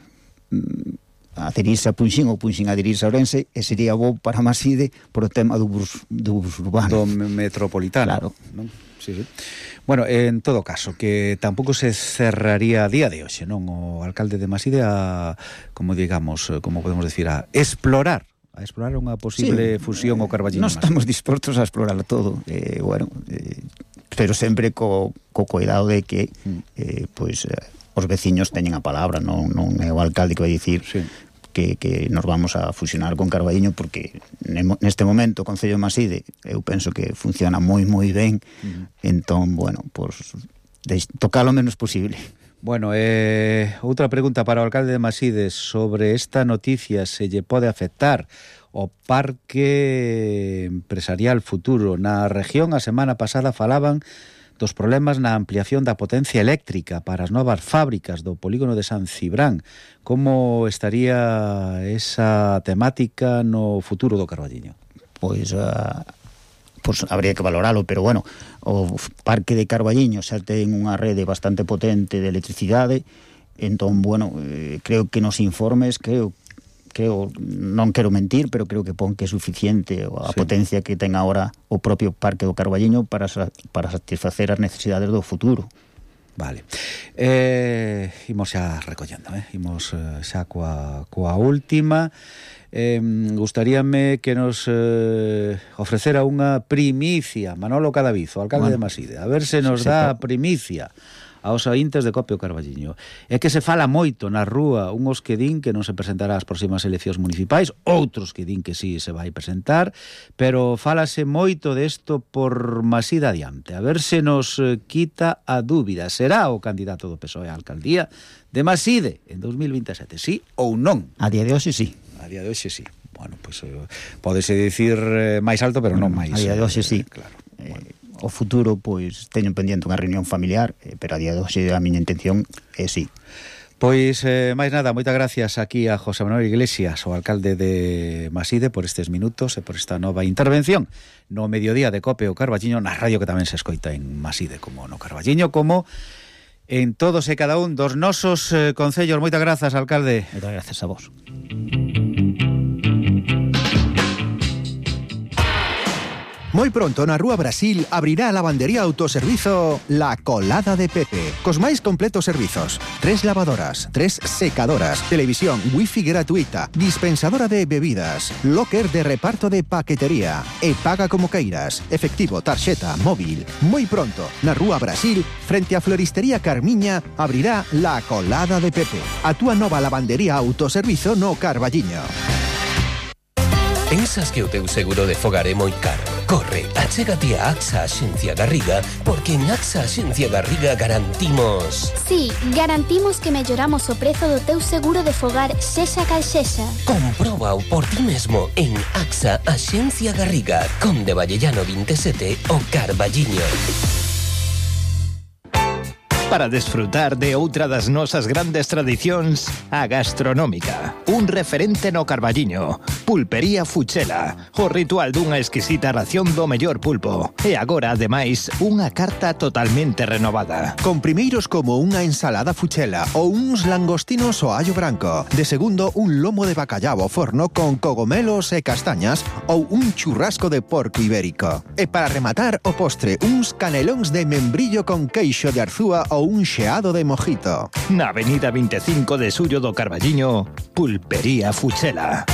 adherirse a Punxín ou Punxín adherirse a Ourense, e sería bo para Maside por o tema do bus, do bus urbano. Do metropolitano. Claro. Non? Sí, sí. Bueno, en todo caso, que tampouco se cerraría a día de hoxe, non? O alcalde de Maside a, como digamos, como podemos decir, a explorar a explorar unha posible sí, fusión eh, ao Carballiño. Non estamos dispostos a explorar todo, eh, bueno, eh, pero sempre co, co cuidado de que eh, pois, eh, os veciños teñen a palabra, non, non é o alcalde que vai dicir sí. que, que nos vamos a fusionar con Carballiño, porque neste momento o Concello de Maside eu penso que funciona moi moi ben, uh-huh. entón, bueno, pues, tocar o menos posible. Bueno, eh, outra pregunta para o alcalde de Maside sobre esta noticia, se lle pode afectar o parque empresarial futuro na región. A semana pasada falaban dos problemas na ampliación da potencia eléctrica para as novas fábricas do polígono de San Cibrán. Como estaría esa temática no futuro do Carballiño? Pois, uh, pois habría que valoralo, pero bueno, o parque de Carballiño xa ten unha rede bastante potente de electricidade, entón, bueno, eh, creo que nos informes, creo creo, non quero mentir, pero creo que pon que é suficiente a sí. potencia que ten agora o propio parque do Carballiño para, para satisfacer as necesidades do futuro. Vale. Eh, imos xa recollendo, eh? Imos eh, xa coa, coa última. Eh, gustaríame que nos eh, ofrecera unha primicia Manolo Cadavizo, alcalde bueno, de Maside. A ver se nos sí, dá a primicia aos ointes de Copio Carballiño. É que se fala moito na rúa, unhos que din que non se presentará ás próximas eleccións municipais, outros que din que sí se vai presentar, pero fálase moito desto por Maside adiante. A ver se nos quita a dúbida. Será o candidato do P S O E á alcaldía de Maside en dos mil vinte e sete, sí ou non? A día de hoxe sí. A día de hoxe sí. Bueno, pois pues, eh, pódese dicir eh, máis alto, pero non máis. A día de hoxe sí. Eh, claro. Eh, bueno. O futuro, pois, teño pendiente unha reunión familiar, eh, pero a día de hoxe a miña intención é sí. Pois, eh, máis nada, moitas gracias aquí a José Manuel Iglesias, o alcalde de Maside, por estes minutos e por esta nova intervención no mediodía de Cope o Carballiño, na radio que tamén se escoita en Maside, como no Carballiño, como en todos e cada un dos nosos eh, concellos. Moitas grazas, alcalde. Moitas grazas a vos. Moi pronto na Rúa Brasil abrirá a lavandería autoservizo La Colada de Pepe, cos máis completos servizos. Tres lavadoras, tres secadoras, televisión, wifi gratuita, dispensadora de bebidas, locker de reparto de paquetería e paga como queiras, efectivo, tarxeta, móvil. Moi pronto na Rúa Brasil, frente á Floristería Carmiña, abrirá La Colada de Pepe, a túa nova lavandería autoservizo no Carballiño. Pensas que o teu seguro de fogar é moi caro? Corre, achégate a AXA Axencia Garriga, porque en AXA Axencia Garriga garantimos... Sí, garantimos que melloramos o prezo do teu seguro de fogar sexa cal sexa. Compróbao por ti mesmo en AXA Axencia Garriga, Conde Vallellano veintisiete, o Carballiño. Para desfrutar de outra das nosas grandes tradicións, a gastronómica. Un referente no Carballiño. Pulpería Fuchela. O ritual dunha exquisita ración do mellor pulpo. E agora, ademais, unha carta totalmente renovada. Con primeiros como unha ensalada Fuchela ou uns langostinos ao allo branco. De segundo, un lomo de bacallao ao forno con cogomelos e castañas ou un churrasco de porco ibérico. E para rematar o postre, uns canelóns de membrillo con queixo de arzúa ou un xeado de mojito. Na avenida veinticinco de Xullo do Carballiño, Pulpería Fuchela.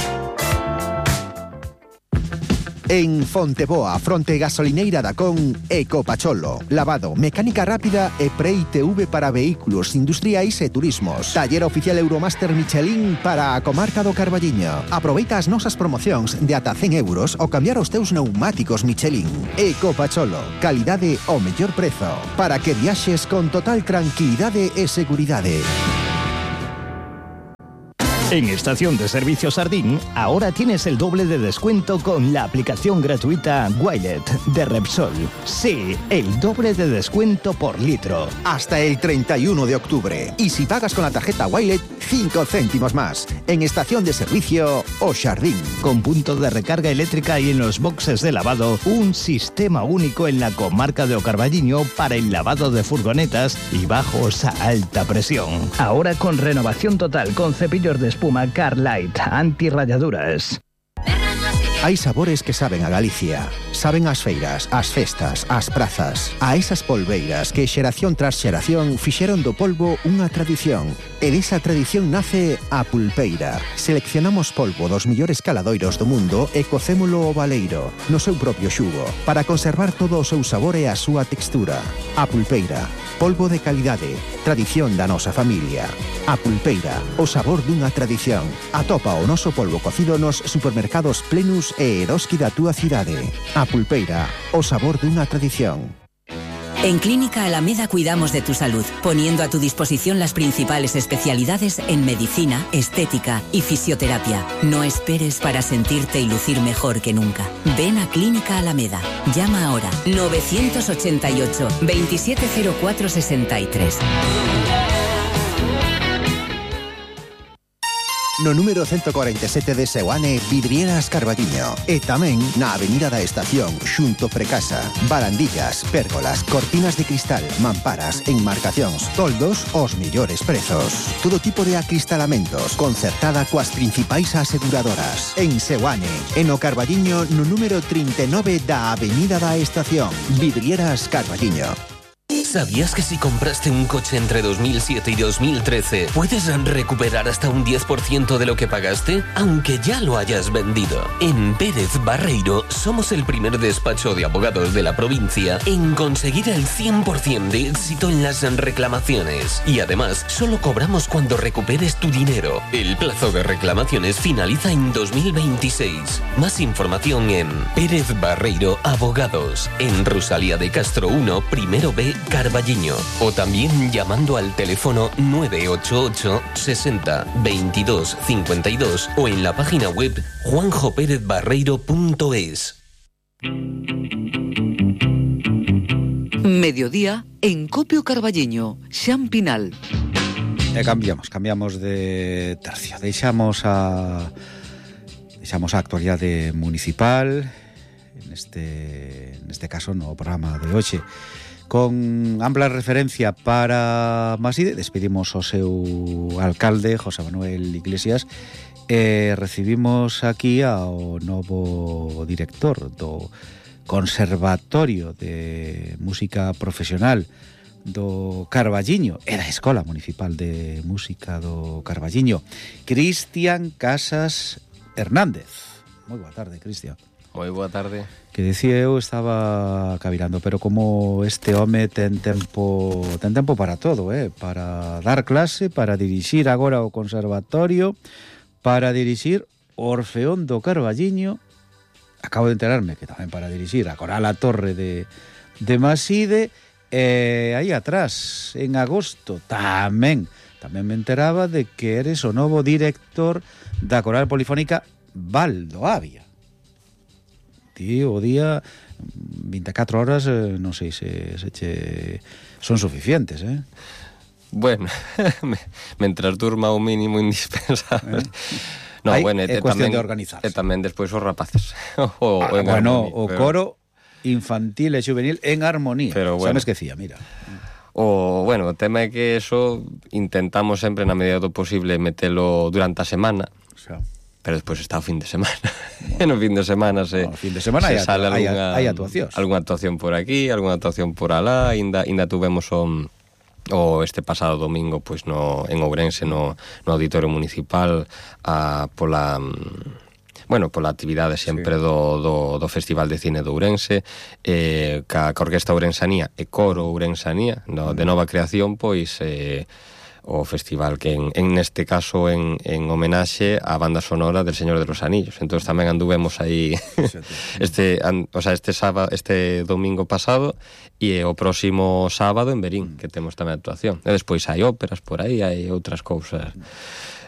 En Fonteboa, fronte gasolineira da Con, Ecopacholo. Lavado, mecánica rápida e pre-I T V para vehículos industriais e turismos. Taller oficial Euromaster Michelin para a comarca do Carballiño. Aproveita as nosas promocións de ata cen euros ao cambiar os teus neumáticos Michelin. Ecopacholo, calidade ao mellor prezo, para que viaxes con total tranquilidade e seguridade. En Estación de Servicio Sardín, ahora tienes el doble de descuento con la aplicación gratuita Wilet de Repsol. Sí, el doble de descuento por litro. Hasta el treinta y uno de octubre. Y si pagas con la tarjeta Wilet, cinco céntimos más. En Estación de Servicio O Sardín. Con punto de recarga eléctrica y en los boxes de lavado, un sistema único en la comarca de O Carballiño para el lavado de furgonetas y bajos a alta presión. Ahora con renovación total con cepillos de espuma Carlight anti-rayaduras. Hai sabores que saben a Galicia. Saben as feiras, as festas, as prazas. A esas polbeiras que xeración tras xeración fixeron do polvo unha tradición. E desa tradición nace a pulpeira. Seleccionamos polvo dos millores caladoiros do mundo e cocémolo ao baleiro, no seu propio xugo, para conservar todo o seu sabor e a súa textura. A pulpeira, polvo de calidade, tradición da nosa familia. A pulpeira, o sabor dunha tradición. Atopa o noso polvo cocido nos supermercados Plenus e Eroski da túa cidade. A pulpeira, o sabor dunha tradición. En Clínica Alameda cuidamos de tu salud, poniendo a tu disposición las principales especialidades en medicina, estética y fisioterapia. No esperes para sentirte y lucir mejor que nunca. Ven a Clínica Alameda. Llama ahora nueve ocho ocho, veintisiete cero cuatro sesenta y tres. No número ciento cuarenta y siete de Seoane, Vidrieras Carballiño. E tamén na Avenida da Estación, xunto Precasa. Barandillas, pérgolas, cortinas de cristal, mamparas, enmarcacións, toldos, os millores prezos. Todo tipo de acristalamentos, concertada coas principais aseguradoras. En Seoane, en o Carballiño, no número trinta e nove da Avenida da Estación. Vidrieras Carballiño. ¿Sabías que si compraste un coche entre dos mil siete y dos mil trece puedes recuperar hasta un diez por ciento de lo que pagaste, aunque ya lo hayas vendido? En Pérez Barreiro somos el primer despacho de abogados de la provincia en conseguir el cien por ciento de éxito en las reclamaciones. Y además, solo cobramos cuando recuperes tu dinero. El plazo de reclamaciones finaliza en dos mil veintiséis. Más información en Pérez Barreiro Abogados, en Rosalía de Castro uno, primero B, Carballiño. O también llamando al teléfono nueve ocho ocho sesenta veintidós cincuenta y dos o en la página web juanjo pérez barreiro punto es. Mediodía en Copio Carballiño, Xan Pinal. E cambiamos, cambiamos de tercio. Deixamos a deixamos a actualidade municipal neste neste caso no programa de hoxe. Con ampla referencia para Maside, despedimos o seu alcalde, José Manuel Iglesias, e recibimos aquí ao novo director do Conservatorio de Música Profesional do Carballiño e da Escola Municipal de Música do Carballiño, Cristian Casas Hernández. Moi boa tarde, Cristian. Moi boa tarde. Que decía eu, estaba cavilando, pero como este home ten tempo ten tempo para todo, eh? Para dar clase, para dirixir agora o conservatorio, para dirixir o Orfeón do Carballiño. Acabo de enterarme que tamén para dirixir a Coral a Torre de, de Maside. E aí atrás, en agosto, tamén tamén me enteraba de que eres o novo director da Coral Polifónica Valdoavia. Ti o día veinticuatro horas, eh, non sei se, se che son suficientes, eh? Bueno, mentras durma o mínimo indispensable. Eh? No, Aí bueno, é cuestión tamén, de organizarse. E tamén despois os rapaces. o, ah, o bueno, armonía, o pero... coro infantil e juvenil en armonía. Pero bueno, xa me esquecía, mira. O, bueno, o tema é que eso intentamos sempre na medida do posible metelo durante a semana. Xa. Pero despois está o fin de semana. E no fin de semana se, no, fin de semana se hai, sale hai, alguna, hai actuacións. Alguna actuación por aquí, alguna actuación por alá. Ainda, ainda tuvemos o, o este pasado domingo pois no, en Ourense, no, no Auditorio Municipal, a, pola... Bueno, pola actividade sempre sí. do, do, do Festival de Cine de Ourense, eh, ca, ca Orquesta Ourensanía e Coro Ourensanía, no, de nova creación, pois... Eh, o festival que en, en neste caso en, en homenaxe á banda sonora del Señor de los Anillos. Entón tamén anduvemos aí este, an, o sea, este sábado, este domingo pasado e o próximo sábado en Verín, que temos tamén actuación. E despois hai óperas por aí, hai outras cousas.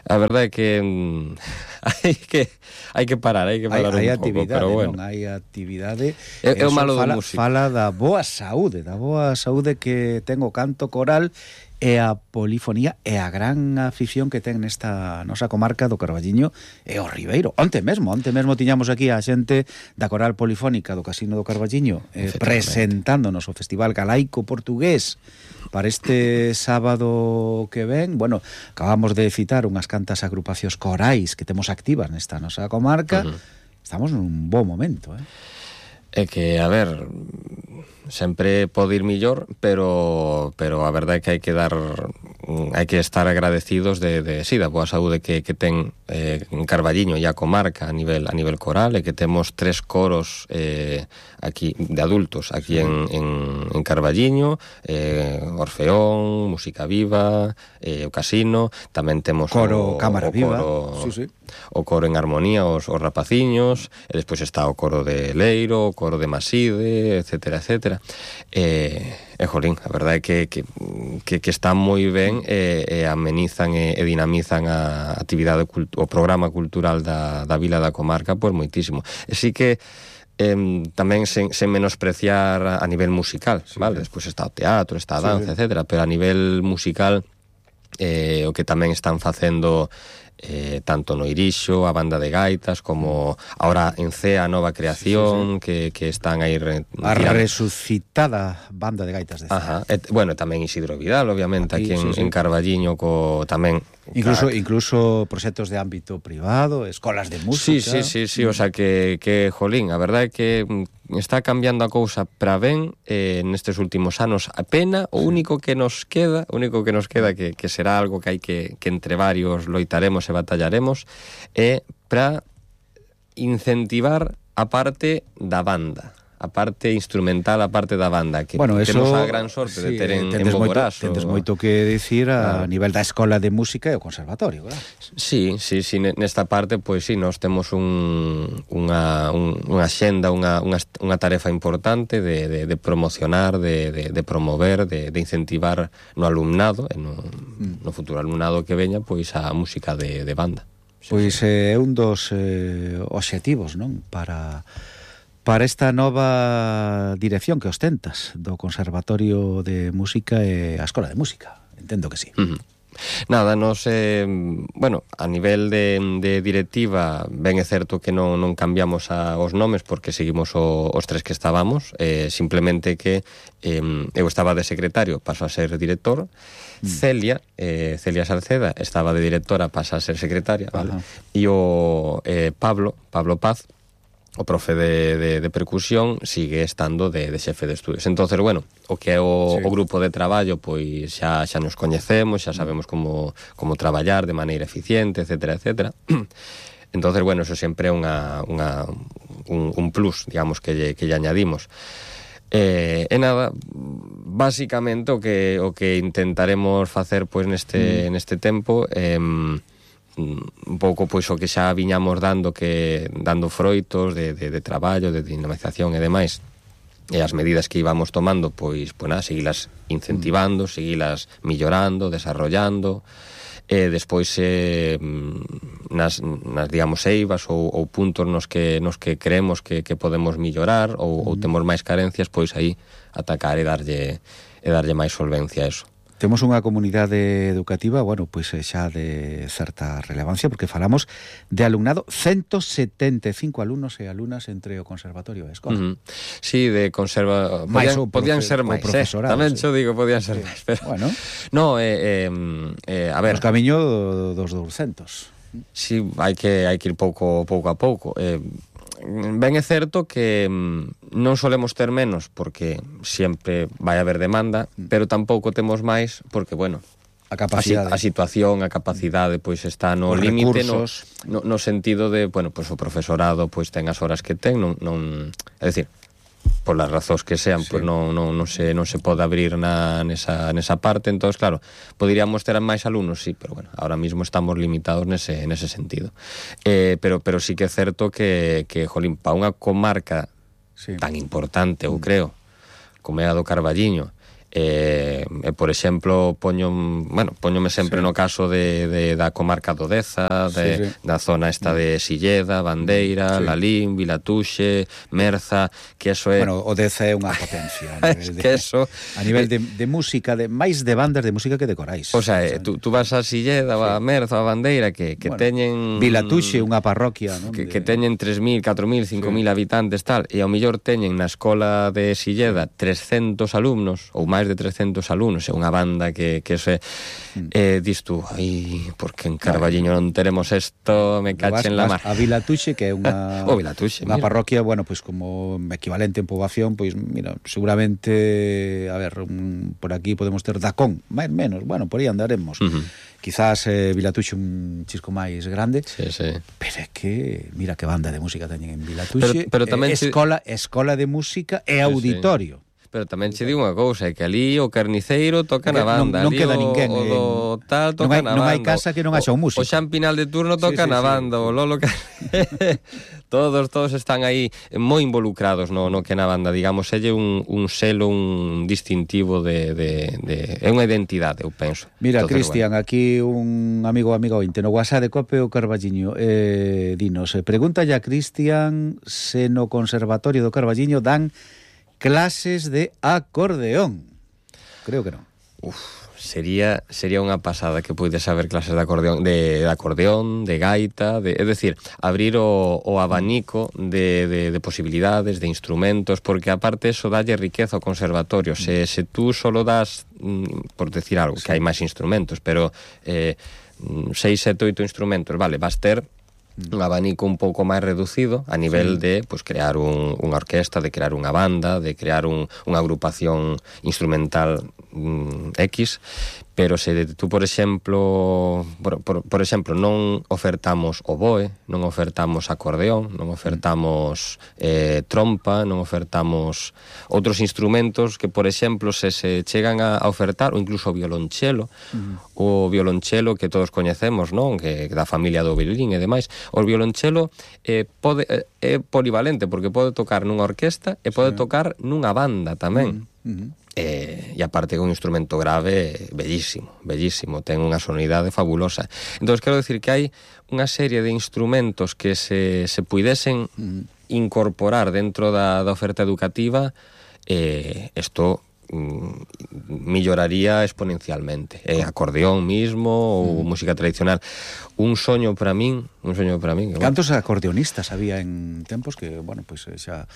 A verdade é que mm, hai que hai que parar, hai que parar hai, hai un pouco, pero bueno. Non hai actividade. É, é o malo fala, do músico. Fala da boa saúde, da boa saúde que ten o canto coral e a polifonía e a gran afición que ten nesta nosa comarca do Carballiño e o Ribeiro. Onte mesmo, onte mesmo tiñamos aquí a xente da Coral Polifónica do Casino do Carballiño eh, presentándonos o Festival Galaico Portugués para este sábado que ven. Bueno, acabamos de citar unhas cantas agrupacións corais que temos activas nesta nosa comarca. Uh-huh. Estamos nun bo momento, eh? É que, a ver, sempre pode ir millor, pero pero a verdade é que hai que dar hai que estar agradecidos de, de sí, da boa saúde que, que ten eh, en Carballiño e a comarca a nivel a nivel coral, e que temos tres coros eh, aquí de adultos aquí en, en, en Carballiño, eh, Orfeón, Música Viva, eh, o Casino, tamén temos coro o, Cámara o Viva, coro, sí, sí. o coro en armonía, os, os rapaciños, e despois está o coro de Leiro, o coro de Maside, etcétera, etcétera. E, e jolín, a verdade é que, que, que, que están moi ben e, e amenizan e, e dinamizan a actividade, o programa cultural da, da vila da comarca, pois moitísimo. E sí que eh, tamén sen, sen menospreciar a nivel musical, sí, vale? Sí. Despois está o teatro, está a danza, sí, etcétera, pero a nivel musical eh, o que tamén están facendo eh, tanto no Irixo, a banda de gaitas, como ahora en Cea, a nova creación, sí, sí, sí. Que, que están aí re, a tirando. Resucitada banda de gaitas de Cea. Ajá. Et, bueno, tamén Isidro Vidal, obviamente, aquí, aquí en, sí, sí. en Carballiño, co, tamén Incluso incluso proxectos de ámbito privado, escolas de música. Sí, sí, sí, sí, o sea que, que jolín, a verdade é que está cambiando a cousa para ben eh, nestes últimos anos a pena, o único que nos queda, o único que nos queda que, que será algo que hai que, que entre varios loitaremos e batallaremos, é para incentivar a parte da banda, a parte instrumental, a parte da banda, que bueno, temos eso, a gran sorte sí, de ter en, en tendes Bogoraz. Moito, tendes moito que dicir a claro. nivel da escola de música e o conservatorio, claro. Sí, sí, sí, nesta parte, pois sí, nós temos un, unha, un, unha xenda, unha, unha, unha tarefa importante de, de, de promocionar, de, de, de promover, de, de incentivar no alumnado, e no, mm. no futuro alumnado que veña, pois a música de, de banda. Pois é eh, un dos eh, obxectivos, non? Para... para esta nova dirección que ostentas do Conservatorio de Música e a Escola de Música. Entendo que sí. Uh-huh. Nada, nos, eh, bueno, a nivel de, de directiva, ben é certo que non, non cambiamos a, os nomes porque seguimos o, os tres que estábamos, eh, simplemente que eh, eu estaba de secretario, paso a ser director, mm. Celia, eh, Celia Salceda, estaba de directora, pasa a ser secretaria, vale? E o eh, Pablo, Pablo Paz, o profe de, de, de percusión sigue estando de, de xefe de estudios. Entonces, bueno, o que é o, sí. o grupo de traballo, pois xa, xa nos coñecemos, xa sabemos como, como traballar de maneira eficiente, etcétera, etcétera. Entonces, bueno, eso sempre é unha, unha, un, un plus, digamos, que lle, que lle añadimos. Eh, e nada, básicamente o que, o que intentaremos facer pois neste, mm. neste tempo é... Eh, un pouco pois o que xa viñamos dando que dando froitos de, de, de traballo, de dinamización e demais, e as medidas que íbamos tomando pois, pois nada, seguilas incentivando, seguilas millorando, desarrollando, e despois eh, nas, nas digamos eivas ou, ou puntos nos que, nos que creemos que, que podemos millorar ou, ou temos máis carencias, pois aí atacar e darlle, e darlle máis solvencia a eso. Temos unha comunidade educativa, bueno, pois xa de certa relevancia, porque falamos de alumnado, ciento setenta e cinco alumnos e alumnas entre o conservatorio e a escola. Uh-huh. Sí, de conserva... Podían, podían ser máis, eh? Tamén xo digo, podían ser sí. máis, pero... Bueno. No, eh, eh, eh, a ver... Os camiño dos douscentos. Sí, hai que, hai que ir pouco, pouco a pouco. Eh, ben é certo que non solemos ter menos porque sempre vai haber demanda, pero tampouco temos máis porque, bueno, a capacidade, a, a situación, a capacidade pois está no límite, no, no, no sentido de, bueno, pois o profesorado pois ten as horas que ten, non, non é dicir, polas razóns que sean, sí. pois non, non, non, se, non se pode abrir na, nesa, nesa parte, entón, claro, poderíamos ter máis alumnos, sí, pero bueno, ahora mismo estamos limitados nese, nese sentido. Eh, pero, pero sí que é certo que, que jolín, para unha comarca sí. tan importante, eu creo, como é a do Carballiño, Eh, eh, por exemplo, poño, bueno, poñome sempre sí. no caso de, de, da comarca do Deza, de, sí, sí. da zona esta de Silleda, Bandeira, sí. Lalín, Vilatuxe, Merza, que eso é... Bueno, o Deza é unha potencia a nivel, de, que eso, a nivel de, de música, de máis de bandas de música que de corais. O sea, eh, tú, tú vas a Silleda, sí. a Merza, a Bandeira, que, que bueno, teñen... Vilatuxe, unha parroquia, non? Que, de... que teñen tres mil, catro mil, cinco mil sí. habitantes, tal, e ao mellor teñen na escola de Silleda trescentos alumnos, ou máis de trescentos alumnos, é unha banda que, que se eh, dis tú, ai, porque en Carballiño non teremos isto, me cachen la mar. A Vilatuxe, que é unha oh, Vilatuxe, unha parroquia, bueno, pois pues, como equivalente en poboación, pois pues, mira, seguramente, a ver, un, por aquí podemos ter Dacón, máis menos, bueno, por aí andaremos. Uh-huh. Quizás eh, Vilatuxe un chisco máis grande, sí, sí. pero é que, mira que banda de música teñen en Vilatuxe, pero, pero tamén eh, escola, escola de música e sí, auditorio. Sí. Pero tamén che digo unha cousa, é que ali o carniceiro toca na banda, non, non queda o, ninguén, o do tal toca non hai, na banda. Non hai casa que non haxa un músico. O Xan Pinal de turno toca sí, sí, na banda, sí. o Lolo todos todos están aí moi involucrados no, no que na banda, digamos, é un, un selo, un distintivo de, de, de é unha identidade, eu penso. Mira, Cristian, bueno. Aquí un amigo amigo ointe no WhatsApp de Cope o Carballiño, eh, dinos, eh, pregunta ya Cristian se no Conservatorio do Carballiño dan clases de acordeón. Creo que non. Uf, sería sería unha pasada que puides haber clases de acordeón, de, de acordeón, de gaita, de, é dicir, abrir o, o abanico de, de, de posibilidades, de instrumentos, porque aparte eso dalle riqueza ao conservatorio. Se, se tú solo das, por decir algo, sí. que hai máis instrumentos, pero eh, seis, sete, oito instrumentos, vale, vas ter un abanico un pouco máis reducido a nivel sí. de pues, crear un, unha orquesta, de crear unha banda, de crear un, unha agrupación instrumental mm, X, pero se tú, por exemplo, por, por, por exemplo, non ofertamos oboe, non ofertamos acordeón, non ofertamos eh, trompa, non ofertamos outros instrumentos que, por exemplo, se se chegan a, a ofertar, ou incluso o violonchelo, uh-huh. o violonchelo que todos coñecemos, non? Que, que da familia do violín e demais. O violonchelo eh, pode, eh, é polivalente, porque pode tocar nunha orquesta e pode sí. tocar nunha banda tamén. Uh-huh. Eh, e aparte é un instrumento grave bellísimo, bellísimo, ten unha sonoridade fabulosa. Entón, quero decir que hai unha serie de instrumentos que se, se puidesen mm. incorporar dentro da, da oferta educativa, eh, isto mm, melloraría exponencialmente. Eh, acordeón mismo ou mm. música tradicional. Un soño para min, un soño para min. Cantos bueno. acordeonistas había en tempos que, bueno, pois pues, xa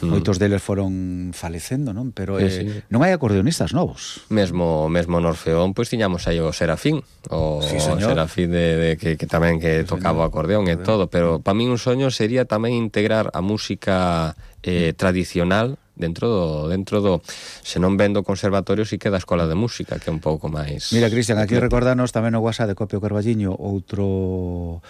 moitos deles foron falecendo, non? Pero eh, sí, sí. non hai acordeonistas novos. Mesmo mesmo no Orfeón, pois pues, tiñamos aí o Serafín, o sí, Serafín de, de que, que tamén que sí, tocaba o acordeón e todo, pero para min un soño sería tamén integrar a música eh, tradicional dentro do, dentro do se non vendo conservatorio si que da escola de música, que é un pouco máis. Mira, Cristian, aquí recordanos tamén o WhatsApp de Copio Carballiño, outro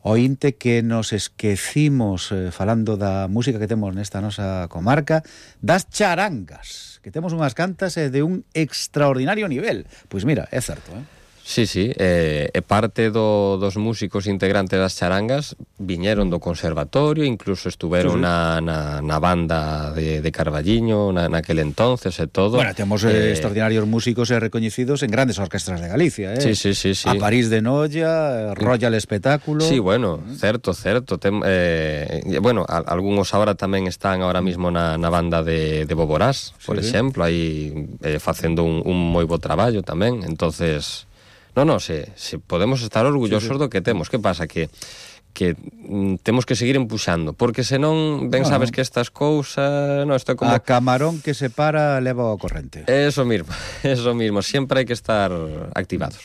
ointe que nos esquecimos eh, falando da música que temos nesta nosa comarca, das charangas, que temos unhas cantas eh, de un extraordinario nivel. Pois mira, é certo, eh? Sí, sí, eh, e parte do, dos músicos integrantes das charangas viñeron do conservatorio, incluso estuveron sí, sí. Na, na, na banda de, de Carballiño na, naquele entonces e todo. Bueno, temos eh, extraordinarios músicos e recoñecidos en grandes orquestras de Galicia, eh? Sí, sí, sí, sí. A París de Noia, Royal Espectáculo. Sí, bueno, certo, certo. Tem, eh, bueno, a, algúns ahora tamén están ahora mismo na, na banda de, de Boborás, por sí, exemplo, aí eh, facendo un, un moi bo traballo tamén, entonces... No, no, se, se podemos estar orgullosos sí, sí. do que temos. Que pasa? Que que mm, temos que seguir empuxando, porque senón, ben no, sabes no. que estas cousas... No, isto é como... A camarón que se para leva ao corrente. Eso mismo, eso mismo. Sempre hai que estar activados.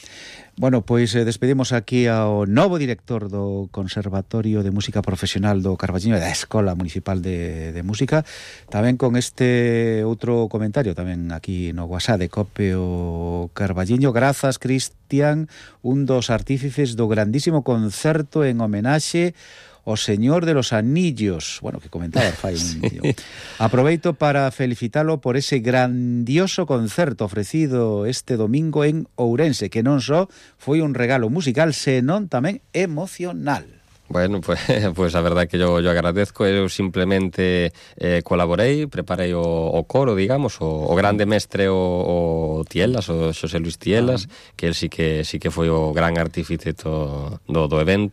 Bueno, pois eh, despedimos aquí ao novo director do Conservatorio de Música Profesional do Carballiño e da Escola Municipal de, de Música, tamén con este outro comentario tamén aquí no WhatsApp de Copio Carballiño. Grazas, Cristian, un dos artífices do grandísimo concerto en homenaxe o Señor de los Anillos, bueno, que comentaba fai un sí. Aproveito para felicitalo por ese grandioso concerto ofrecido este domingo en Ourense, que non só foi un regalo musical, senón tamén emocional. Bueno, pues, pues a verdade que yo, yo agradezco. Eu simplemente eh, colaborei, preparei o, o coro, digamos, o, o grande mestre o, o Tielas, o Xosé Luis Tielas, ah. que él sí que sí que foi o gran artífice do, do, do evento.